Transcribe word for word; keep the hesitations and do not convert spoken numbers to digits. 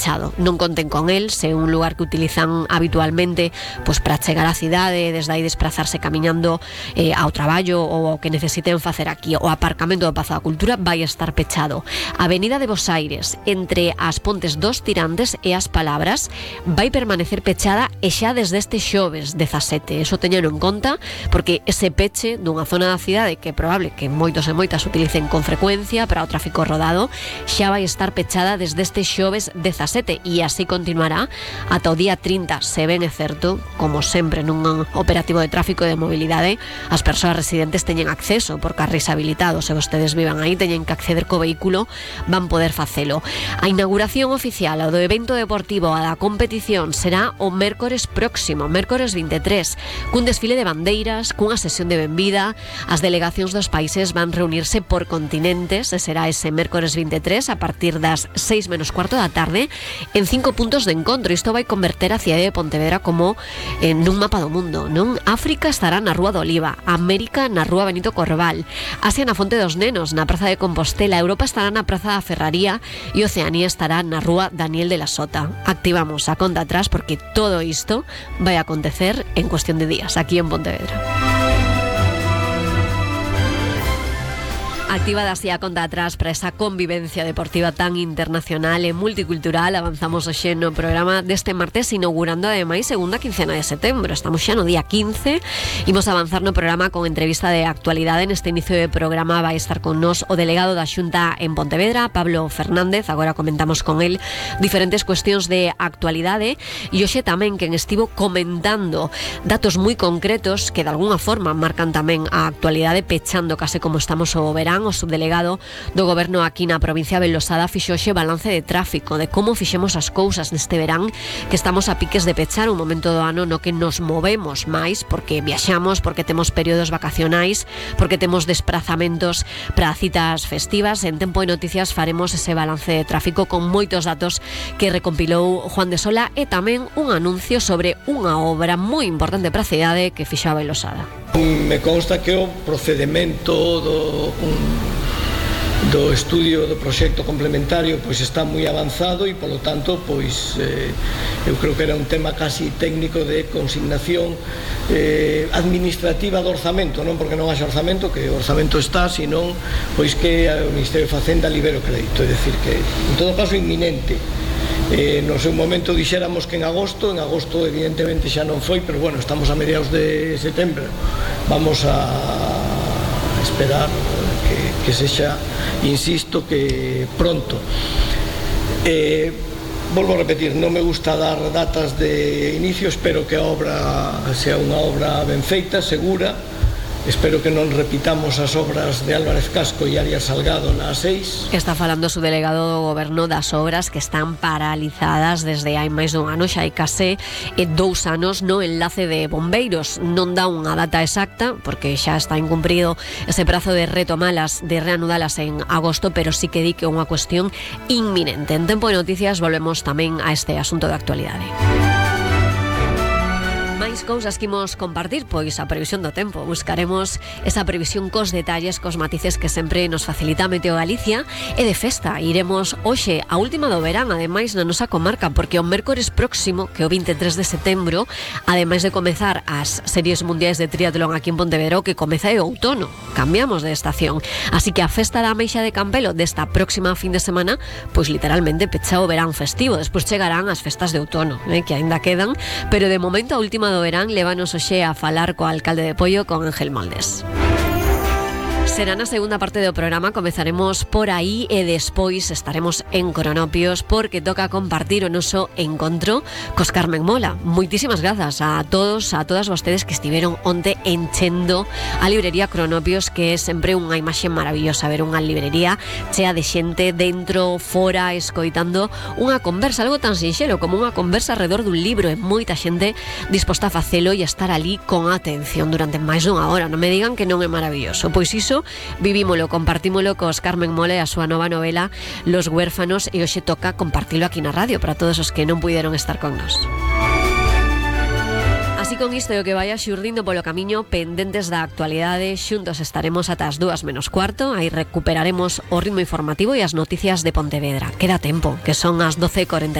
pechado. Non conten con el, se é un lugar que utilizan habitualmente pois para chegar á cidade, desde aí desplazarse camiñando eh, ao traballo ou o que necesiten facer aquí. O aparcamento do Pazo da Cultura vai estar pechado. A Avenida de Bos Aires, entre as Pontes dos Tirantes e as Palabras, vai permanecer pechada e xa desde este xoves dezasete. Eso teñeno en conta, porque ese peche dunha zona da cidade que é probable que moitos e moitas utilicen con frecuencia para o tráfico rodado, xa vai estar pechada desde este xoves dezasete e así continuará ata o día trinta. Se ben é certo, como sempre nun operativo de tráfico e de mobilidade, as persoas residentes teñen acceso por carris habilitados. Se vostedes vivan aí, teñen que acceder co vehículo, van poder facelo. A inauguración oficial do evento deportivo a da competición será o mércores próximo, mércores vinte e tres, cun desfile de bandeiras, cunha sesión de benvida. As delegacións dos países van reunirse por continentes e será ese mércores vinte e tres a partir das seis menos cuarto da tarde en cinco puntos de encontro. Isto vai converter a cidade de Pontevedra como en un mapa do mundo, non? África estará na Rúa do Oliva, América na Rúa Benito Corval, Asia na Fonte dos Nenos, na Praza de Compostela, Europa estará na Praza da Ferraría e Oceanía estará na Rúa Daniel de la Sota. Activamos a conta atrás porque todo isto vai acontecer en cuestión de días aquí en Pontevedra. Activada así a conta atrás para esa convivencia deportiva tan internacional e multicultural. Avanzamos hoxe no programa deste martes, inaugurando ademais segunda quincena de setembro. Estamos xa no día quince. Imos avanzar no programa con entrevista de actualidade. Neste inicio de programa vai estar con nos o delegado da Xunta en Pontevedra, Pablo Fernández. Agora comentamos con el diferentes cuestións de actualidade e hoxe tamén quen estivo comentando datos moi concretos que de alguna forma marcan tamén a actualidade, pechando case como estamos o verán. O subdelegado do Goberno aquí na provincia de Losada fixo hoxe balance de tráfico, de como fixemos as cousas neste verán, que estamos a piques de pechar un momento do ano no que nos movemos máis, porque viaxamos, porque temos períodos vacacionais, porque temos desprazamentos para citas festivas. En Tempo de Noticias faremos ese balance de tráfico con moitos datos que recompilou Juan de Sola e tamén un anuncio sobre unha obra moi importante para a cidade que fixo a Losada. Me consta que o procedimento do, un, do estudio do proxecto complementario pois está moi avanzado e polo tanto pois eh, eu creo que era un tema casi técnico de consignación eh, administrativa do orzamento, non porque non haxa orzamento, que o orzamento está, senón pois que o Ministerio de Facenda libera o crédito, é dicir que en todo caso inminente. Eh, no seu momento dixéramos que en agosto, en agosto evidentemente xa non foi, pero bueno, estamos a mediados de setembro, vamos a esperar que, que sexa, insisto, que pronto. Eh, volvo a repetir, non me gusta dar datas de inicio, espero que a obra sea unha obra ben feita, segura. Espero que non repitamos as obras de Álvarez Casco e Arias Salgado na A seis. Está falando o subdelegado do Goberno das obras que están paralizadas desde hai máis dun ano, xa hai case dous anos no enlace de bombeiros. Non dá unha data exacta, porque xa está incumprido ese prazo de retomalas, de reanudalas en agosto, pero sí que di que é unha cuestión inminente. En Tempo de Noticias volvemos tamén a este asunto de actualidade. Máis cousas que imos compartir, pois a previsión do tempo. Buscaremos esa previsión cos detalles, cos matices que sempre nos facilita Meteo Galicia, e de festa iremos hoxe a última do verán, ademais na nosa comarca, porque o mércores próximo, que é o vinte e tres de setembro, ademais de comezar as series mundiais de triatlón aquí en Pontevedra, que comeza é o outono, cambiamos de estación, así que a festa da Ameixa de Campelo desta próxima fin de semana, pois literalmente pecha o verán festivo. Despois chegarán as festas de outono, eh, que aínda quedan, pero de momento a última do verán levanos hoxe a falar co alcalde de Poio, con Ángel Moldes. Será na segunda parte do programa, comezaremos por aí e despois estaremos en Cronopios porque toca compartir o noso encontro cos Carmen Mola. Moitísimas grazas a todos, a todas vostedes que estiveron onte enchendo a librería Cronopios, que é sempre unha imaxe maravillosa ver unha librería chea de xente dentro, fora, escoitando unha conversa, algo tan sinxelo como unha conversa alrededor dun libro, e moita xente disposta a facelo e a estar ali con atención durante máis dunha hora. Non me digan que non é maravilloso, pois iso vivímolo, compartímolo cos Carmen Mola e a súa nova novela Los Huérfanos, e hoxe toca compartilo aquí na radio para todos os que non puideron estar con nós. Así con isto e o que vaya xurdindo polo camiño, pendentes da actualidade, xuntos estaremos ata as dúas menos cuarto. Aí recuperaremos o ritmo informativo e as noticias de Pontevedra. Queda tempo, que son as doce e cuarenta e tres.